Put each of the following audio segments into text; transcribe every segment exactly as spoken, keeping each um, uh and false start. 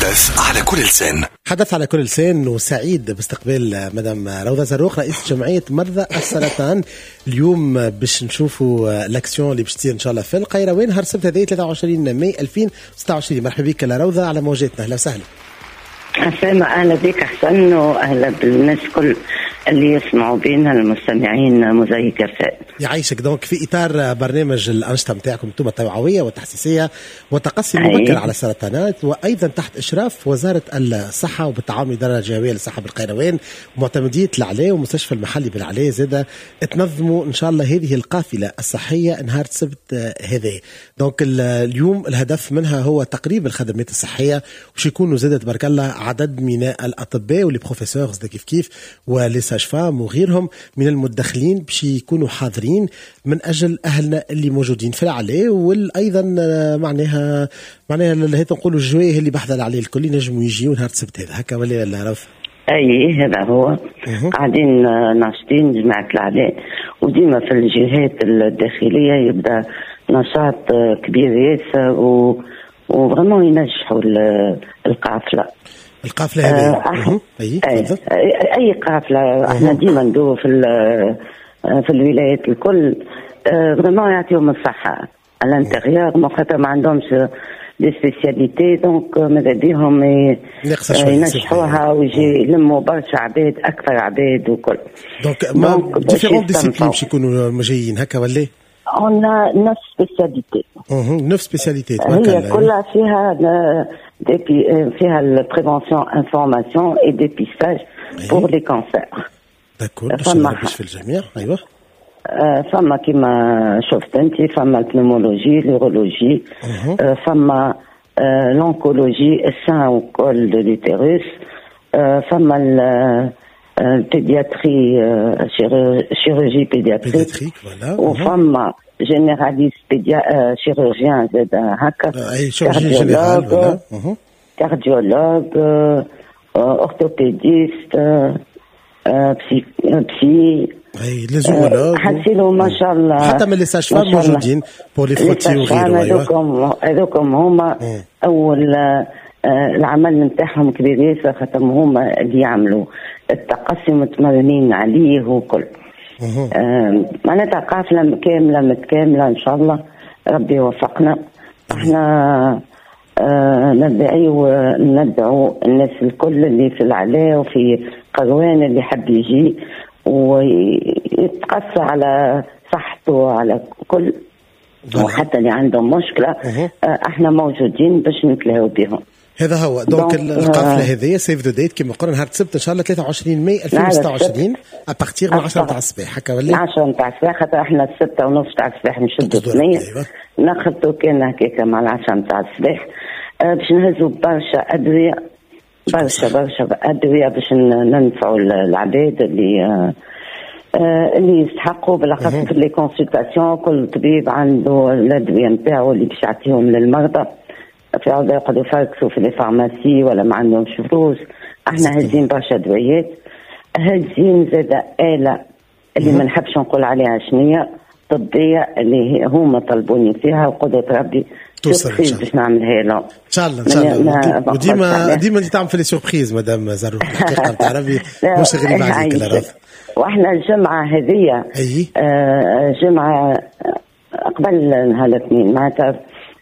حدث على كل لسان. حدث على كل لسان، وسعيد باستقبال مدام روضة زروق رئيس جمعية مرضى السرطان. اليوم باش نشوفوا l'action اللي باش تصير ان شاء الله في القيروان نهار السبت هذا ثلاثة وعشرين ماي ألفين وستة وعشرين. مرحبا بك روضة على موجاتنا، اهلا وسهلا. عسلامة، اهلا بك حسن واهلا بالناس كل اللي يسمعوا بينا المستمعين موزايك أف. يعيشك. donc في اطار برنامج الانشطة نتاعكم انتم التوعوية والتحسيسيه والتقصي المبكر على السرطانات، وايضا تحت اشراف وزارة الصحة وبالتعاون الادارة الجهوية للصحة بالقيروان ومعتمديه العلاء ومستشفى المحلي بالعلاء، زاده تنظموا ان شاء الله هذه القافلة الصحية نهار السبت هذا. donc اليوم الهدف منها هو تقريب الخدمات الصحية، وش يكونوا زاده تبارك الله عدد من الاطباء و les professeurs كيف كيف و les sages-femmes وغيرهم من المتدخلين باش يكونوا حاضرين من اجل اهلنا اللي موجودين في العلاء، وايضا معناها معناها هي نقولوا الجوايه اللي بحذا العلاء الكل ينجموا يجيو نهار السبت هذا، هكا ولا لا رف؟ اي هذا هو. قاعدين ناشطين جماعة العلاء، وديما في الجهات الداخلية يبدا نشاط كبير ياسر و و vraiment ينجحوا القافلة. القافلة هذه أه اي اي قافله احنا ديما ندوروا في في الولايات الكل، vraiment يعطيهم الصحة à l'intérieur، ما خاطر ما عندهمش des spécialités، donc ماذا بيهم ينجحوها ويجي يلموا برشا عباد، اكثر عباد وكل. donc ما différentes disciplines باش يكونوا جايين هكا ولا؟ On a neuf spécialités. neuf spécialités. هي كلها فيها فيها ال prévention، information et dépistage pour les cancers. d'accord، فما في الجميع. ايوه فما كيما شفت انت، فما ال pneumologie، l'urologie، فما l'oncologie، ال sein و col de l'utérus، فما ال pédiatrie، chirurgie pédiatrique، وفما généraliste pédia chirurgien زاد هكا، اي chirurgie générale، cardiologue، orthopédiste، psy psy اي les urologues. حسيلو ما شاء الله. حتى من les sages-femmes موجودين pour les frottis وغيره. هذوكم هذوكم هما اول العمل نتاعهم كبير ياسر، خاطر هما اللي يعملوا التقصي متمرنين عليه وكل. معناتها قافله كاملة متكاملة، ان شاء الله ربي يوفقنا. احنا آه ندعي ندعو الناس الكل اللي في العلاء وفي قروان اللي حب يجي ويتقصى على صحته على كل، وحتى اللي عندهم مشكلة آه احنا موجودين باش نتلاهوا بهم. هذا هو. donc القافلة هذه save the date كما قلنا نهار السبت ان شاء الله ثلاثة وعشرين ماي ألفين وستة وعشرين à partir من عشرة تاع الصباح، هكا ولا؟ عشرة تاع الصباح، خاطر احنا الستة ونص تاع الصباح نشدوا الثنية، نخلطوا كان هكاك مع العشرة تاع الصباح باش نهزوا برشا ادوية، برشا برشا ادوية باش ننفعوا العباد اللي اللي يستحقوا، بالاخص في les consultations. كل طبيب عنده الادوية نتاعو اللي باش يعطيهم للمرضى، في عوض يقعدوا يفركسوا في les pharmacies ولا ما عندهمش فلوس. احنا هازين برشا دويات، هازين زاد آلة اللي ما نحبش نقول عليها شنية طبية اللي هما طلبوني فيها، وقدرة ربي توصل باش نعملها لهم ان شاء الله. ان شاء الله. وديما ديما انت تعمل في les surprises مدام زروق، الحقيقة نتاع ربي مش غريب عليك لا. واحنا الجمعة هذه آه جمعه قبل نهار الاثنين، معناتها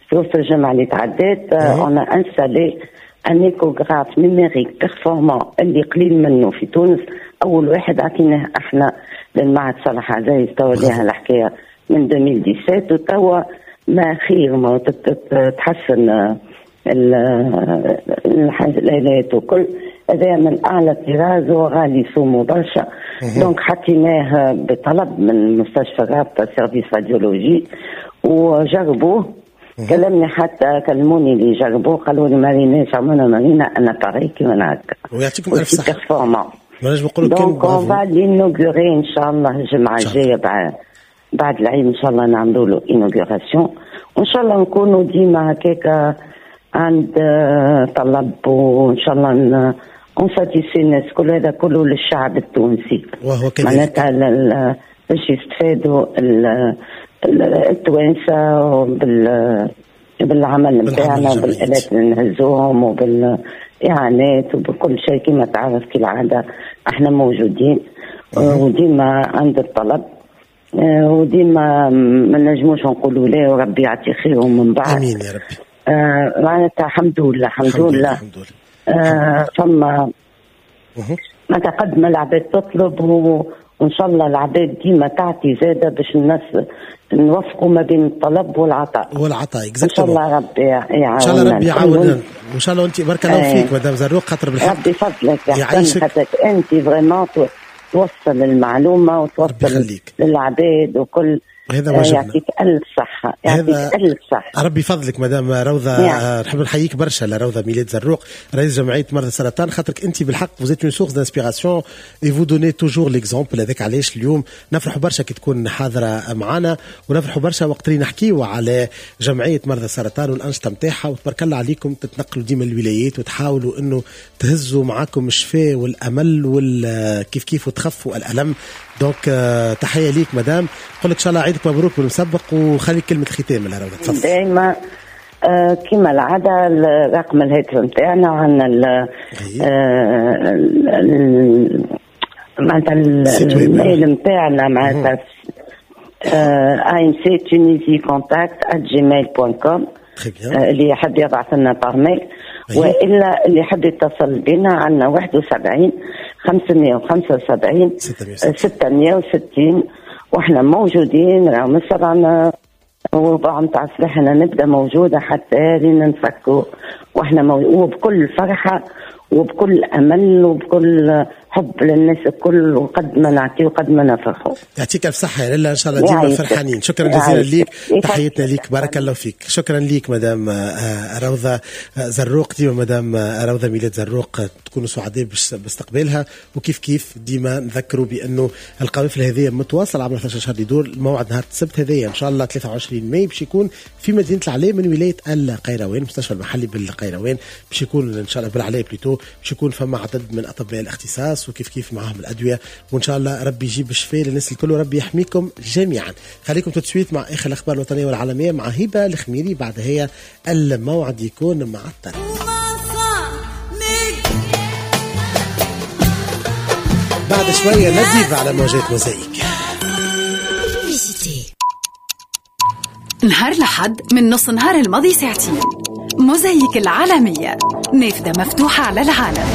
في وسط الجمعة اللي تعدات on a installé un échographe numérique performant اللي قليل منه في تونس. اول واحد عطيناه احنا للمعهد صالح عزيز، توا ليها الحكاية من ألفين وسبعطاش، وتوا ما خير ما تحسن الالات وكل. هذا من اعلى طراز وغالي سومو برشا، donc حطيناه بطلب من مستشفى رابطه service radiologie وجربوه. كلمني حتى كلموني اللي جربوه، قالوا لي ما ريناش عمرنا ما رينا un appareil كيما هكا. ويعطيكم الف صحة. performant. ما نجم نقولوا كان donc on va l'inaugurer ان شاء الله الجمعة الجاية بعد بعد العيد ان شاء الله نعملوا له inauguration، وان شاء الله نكونوا ديما هكاك عند طلب، وان شاء الله on satisfait الناس. كل هذا كله للشعب التونسي، وهو كذلك معناتها باش يستفادوا التوانسة بال بالعمل نتاعنا وبالآلات اللي نهزوهم وبالإعانات وبكل شيء. كما تعرف كالعادة احنا موجودين وديما عند الطلب وديما ما نجموش نقولوا لا، وربي يعطي خيرهم من بعد. امين يا ربي. آه معناتها الحمد لله الحمد لله الحمد لله. آه فما معناتها قد ما العباد تطلب، وان شاء الله العباد ديما تعطي زاده باش الناس نوفقوا ما بين الطلب والعطاء والعطاء. ان شاء الله ربي يعاوننا، ان شاء الله ربي يعاوننا، وان شاء الله انت بارك الله فيك مدام زروق، خاطر بالحق ربي فضلك يعيشك، خاطرك انت vraiment توصل المعلومة وتوصل للعباد وكل هذا واجبنا. يعطيك ألف صحة، يعطيك ألف صحة، ربي فضلك مدام روضة. يعني. نحب نحييك برشا لروضة ميلاد زروق رئيس جمعية مرضى السرطان، خاطرك أنت بالحق vous êtes une source d'inspiration et vous donnez toujours l'exemple. هذاك علاش اليوم نفرحوا برشا كي تكون حاضرة معنا، ونفرحوا برشا وقت اللي نحكيو على جمعية مرضى السرطان والأنشطة نتاعها. وتبارك الله عليكم تتنقلوا ديما الولايات وتحاولوا أنه تهزوا معاكم الشفاء والأمل والكيف كيف وتخفوا الألم. donc تحية ليك مدام، نقول لك إن شاء الله عيدك مبروك بالمسبق، وخلي كلمة ختام لها روضة. تفضل. دائما آه كما العادة رقم الهاتف نتاعنا عندنا معناتها ال mail نتاعنا معناتها ام سي تونيزي كونتاكت آت جيميل دوت كوم، اللي يحب يبعث لنا par mail، والا اللي يحب يتصل بنا عندنا واحد وسبعين خمسمية وخمسة وسبعين ستمية وستين، واحنا موجودين راهو من السبعة وربع نتاع الصباح نبدا موجودة حتى لين نفكوا، واحنا موجود وبكل فرحه وبكل امل وبكل حب للناس الكل، وقد ما نعطي وقد ما نفرحوا. يعطيك الف صحة يا لاله، ان شاء الله ديما فرحانين. شكرا جزيلا ليك، تحياتنا ليك، بارك الله فيك. شكرا ليك مدام روضة زروق، ديما مدام روضة ميلاد زروق تكونوا سعداء باستقبالها. وكيف كيف ديما نذكروا بانه القوافل هذه متواصلة عبر ثلاثة عشر شهر يدور. الموعد نهار السبت هذايا ان شاء الله ثلاثة وعشرين ماي باش يكون في مدينة العلاء من ولاية القيروان، المستشفى المحلي بالقيروان باش يكون ان شاء الله بالعلاء plutôt، باش يكون فما عدد من اطباء الاختصاص وكيف كيف معاهم الادوية، وان شاء الله ربي يجيب الشفاء للناس الكل وربي يحميكم جميعا. خليكم tout de suite مع اخر الاخبار الوطنية والعالمية مع هبه الخميري، بعد هي الموعد يكون مع الطرف بعد شوية نزيف على موجات موزايك. نهار لحد من نص نهار الماضي ساعتين، موزايك العالمية نافذة مفتوحة على العالم.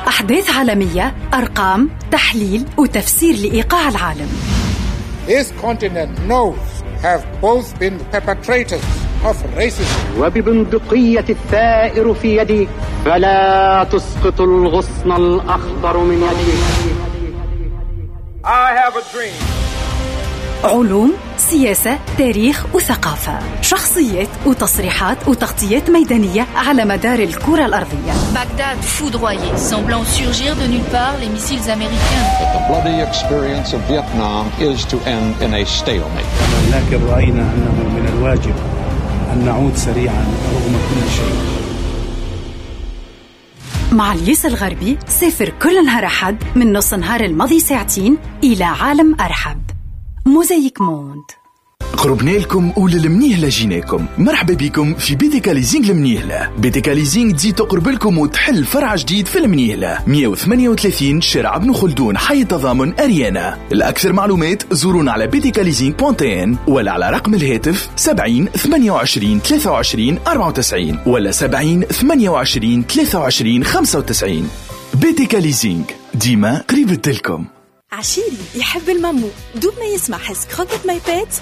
أحداث عالمية، أرقام، تحليل وتفسير لإيقاع العالم. This continent knows have both been perpetrators of racism. وببندقية الثائر في يدي فلا تسقط الغصن الأخضر من يدي. I have a dream. علوم، سياسة، تاريخ وثقافة، شخصيات وتصريحات وتغطيات ميدانية على مدار الكرة الأرضية. Bagdad foudroyée, semblant surgir de nulle part les missiles américains. But the bloody experience of Vietnam is to end in a stalemate. لكن رأينا أنه من الواجب أن نعود سريعا رغم كل شيء. مع الياس الغربي سافر كل نهار أحد من نص نهار الماضي ساعتين إلى عالم أرحب. موزايك موند. قربنا لكم وللمنيهلة جيناكم. مرحبا بكم في BTK Leasing المنيهلة. BTK Leasing تزيد تقرب لكم وتحل فرع جديد في المنيهلة، مية وثمانية وثلاثين شارع ابن خلدون، حي التضامن، أريانا. الأكثر معلومات زورونا على بي تي كا ليزينغ دوت ان ولا على رقم الهاتف سبعين ثمانية وعشرين ثلاثة وعشرين أربعة وتسعين ولا سبعين ثمانية وعشرين ثلاثة وعشرين خمسة وتسعين. BTK Leasing ديما قريبة لكم. عشيري يحب المامو، دوب ما يسمع حس croquettes My Pets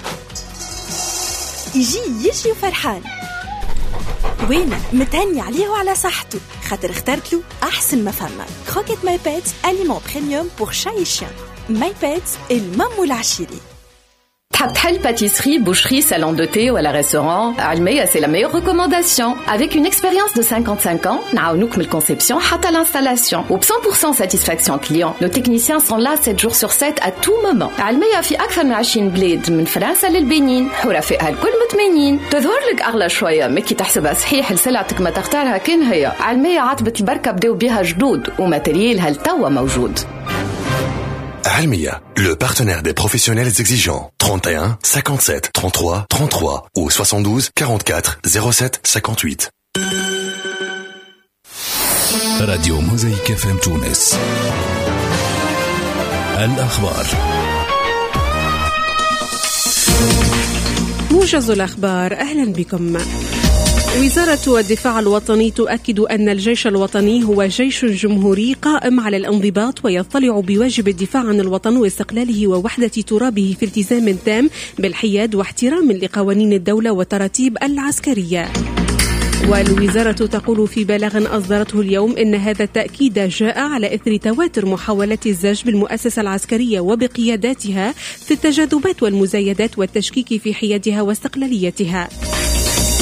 يجي يجري وفرحان، وين متهني عليه وعلى صحته خاطر اخترت له أحسن ما فما. croquettes My Pets aliment premium pour chat et chien. My Pets المامو العشيري. تحب تحل pâtisserie, boucherie, salon de thé ولا restaurant؟ علمية c'est la meilleure recommandation. Avec une expérience de cinquante-cinq ans, نعاونوك من conception حتى l'installation. و cent pour cent satisfaction client. Nos techniciens sont là sept jours sur sept à tout moment. علمية في أكثر من عشرين بلاد من فرنسا للبنين، حرفائها الكل متمنين. تظهر لك أغلى شوية، ما كي تحسبها صحيح لسلعتك ما تختارها كان هي. علمية عتبة البركة بداو بها جدود و matériel ها لتوا موجود. علمية, le partenaire des professionnels exigeants. trente et un cinquante-sept trente-trois trente-trois ou soixante-douze quarante-quatre zéro sept cinquante-huit. راديو موزاييك إف إم تونس. الأخبار. موجز الأخبار، أهلا بكم. وزارة الدفاع الوطني تؤكد أن الجيش الوطني هو جيش جمهوري قائم على الانضباط ويطلع بواجب الدفاع عن الوطن واستقلاله ووحدة ترابه في التزام تام بالحياد واحترام لقوانين الدولة والتراتيب العسكرية. والوزارة تقول في بلاغ أصدرته اليوم إن هذا التأكيد جاء على إثر تواتر محاولات الزج بالمؤسسة العسكرية وبقياداتها في التجاذبات والمزايدات والتشكيك في حيادها واستقلاليتها.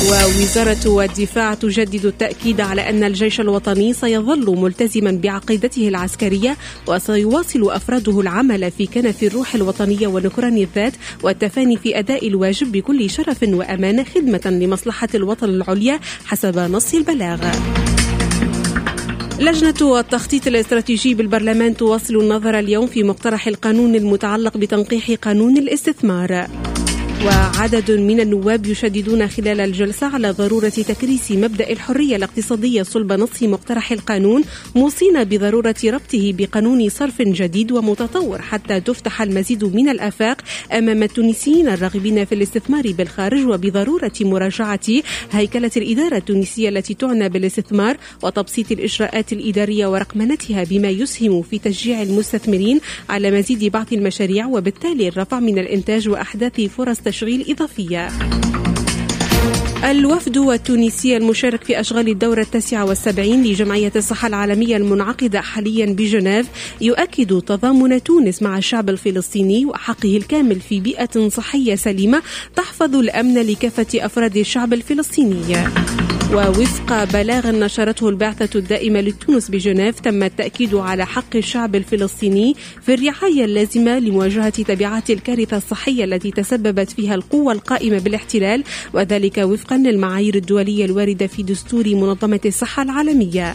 ووزارة الدفاع تجدد التأكيد على أن الجيش الوطني سيظل ملتزما بعقيدته العسكرية وسيواصل أفراده العمل في كنف الروح الوطنية ونكران الذات والتفاني في أداء الواجب بكل شرف وأمانة خدمة لمصلحة الوطن العليا حسب نص البلاغ. لجنة التخطيط الاستراتيجي بالبرلمان تواصل النظر اليوم في مقترح القانون المتعلق بتنقيح قانون الاستثمار. وعدد من النواب يشددون خلال الجلسة على ضرورة تكريس مبدأ الحرية الاقتصادية صلب نص مقترح القانون، موصين بضرورة ربطه بقانون صرف جديد ومتطور حتى تفتح المزيد من الآفاق أمام التونسيين الراغبين في الاستثمار بالخارج، وبضرورة مراجعة هيكلة الإدارة التونسية التي تعنى بالاستثمار وتبسيط الإجراءات الإدارية ورقمنتها بما يسهم في تشجيع المستثمرين على مزيد بعض المشاريع وبالتالي الرفع من الإنتاج وأحداث فرص تشغيل إضافية. الوفد التونسي المشارك في أشغال الدورة التاسعة والسبعين لجمعية الصحة العالمية المنعقدة حاليا بجنيف يؤكد تضامن تونس مع الشعب الفلسطيني وحقه الكامل في بيئة صحية سليمة تحفظ الأمن لكافة أفراد الشعب الفلسطيني. ووفق بلاغ نشرته البعثة الدائمة لتونس بجنيف تم التأكيد على حق الشعب الفلسطيني في الرعاية اللازمة لمواجهة تبعات الكارثة الصحية التي تسببت فيها القوة القائمة بالاحتلال، وذلك وفقا للمعايير الدولية الواردة في دستور منظمة الصحة العالمية.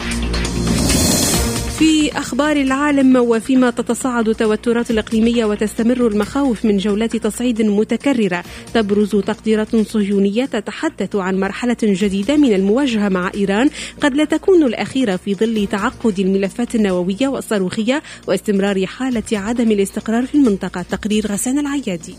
في أخبار العالم، وفيما تتصاعد التوترات الإقليمية وتستمر المخاوف من جولات تصعيد متكررة، تبرز تقديرات صهيونية تتحدث عن مرحلة جديدة من المواجهة مع إيران قد لا تكون الأخيرة في ظل تعقد الملفات النووية والصاروخية واستمرار حالة عدم الاستقرار في المنطقة. تقرير غسان العيادي.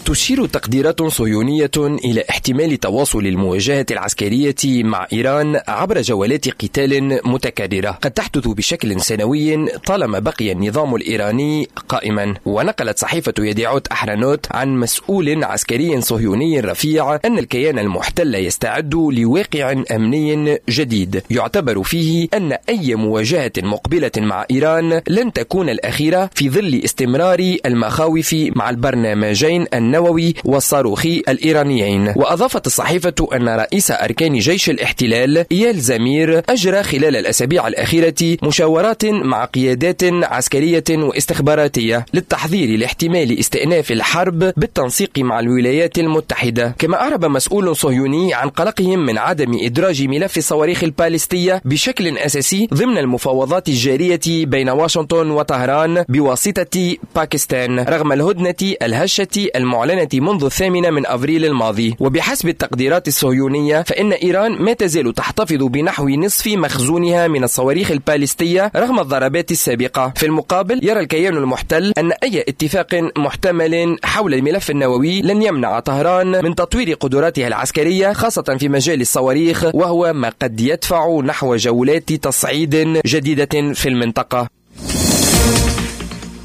تشير تقديرات صهيونية إلى احتمال تواصل المواجهة العسكرية مع إيران عبر جولات قتال متكررة قد تحدث بشكل سنوي طالما بقي النظام الإيراني قائما. ونقلت صحيفة يديعوت أحرانوت عن مسؤول عسكري صهيوني رفيع أن الكيان المحتل يستعد لواقع أمني جديد يعتبر فيه أن أي مواجهة مقبلة مع إيران لن تكون الأخيرة في ظل استمرار المخاوف مع البرنامجين النووي والصاروخي الإيرانيين. وأضافت الصحيفة أن رئيس أركان جيش الاحتلال إيال زمير أجرى خلال الأسابيع الأخيرة مشاورات مع قيادات عسكرية واستخباراتية للتحضير لاحتمال استئناف الحرب بالتنسيق مع الولايات المتحدة. كما أعرب مسؤول صهيوني عن قلقهم من عدم إدراج ملف الصواريخ البالستية بشكل أساسي ضمن المفاوضات الجارية بين واشنطن وطهران بواسطة باكستان رغم الهدنة الهشة المعلنة منذ الثامن من أبريل الماضي. وبحسب التقديرات الصهيونية فإن إيران ما تزال تحتفظ بنحو نصف مخزونها من الصواريخ البالستية رغم الضربات السابقة. في المقابل يرى الكيان المحتل أن أي اتفاق محتمل حول الملف النووي لن يمنع طهران من تطوير قدراتها العسكرية خاصة في مجال الصواريخ، وهو ما قد يدفع نحو جولات تصعيد جديدة في المنطقة.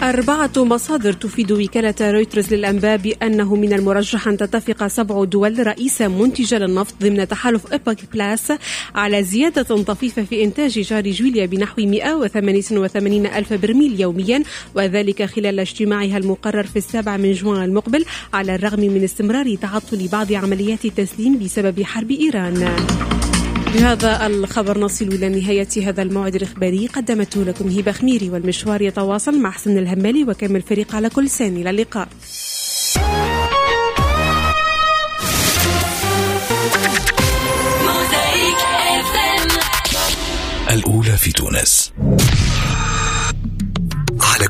أربعة مصادر تفيد وكالة رويترز للأنباء بأنه من المرجح أن تتفق سبع دول رئيسة منتجة للنفط ضمن تحالف أوبك بلاس على زيادة طفيفة في إنتاج شهر جويليا بنحو مئة وثمانية وثمانين ألف برميل يوميا، وذلك خلال اجتماعها المقرر في السابع من جوان المقبل، على الرغم من استمرار تعطل بعض عمليات التسليم بسبب حرب إيران. بهذا الخبر نصل إلى نهاية هذا الموعد الإخباري، قدمته لكم هبة خميري، والمشوار يتواصل مع حسن الهمالي وكامل الفريق على كل سان. إلى اللقاء. الأولى في تونس.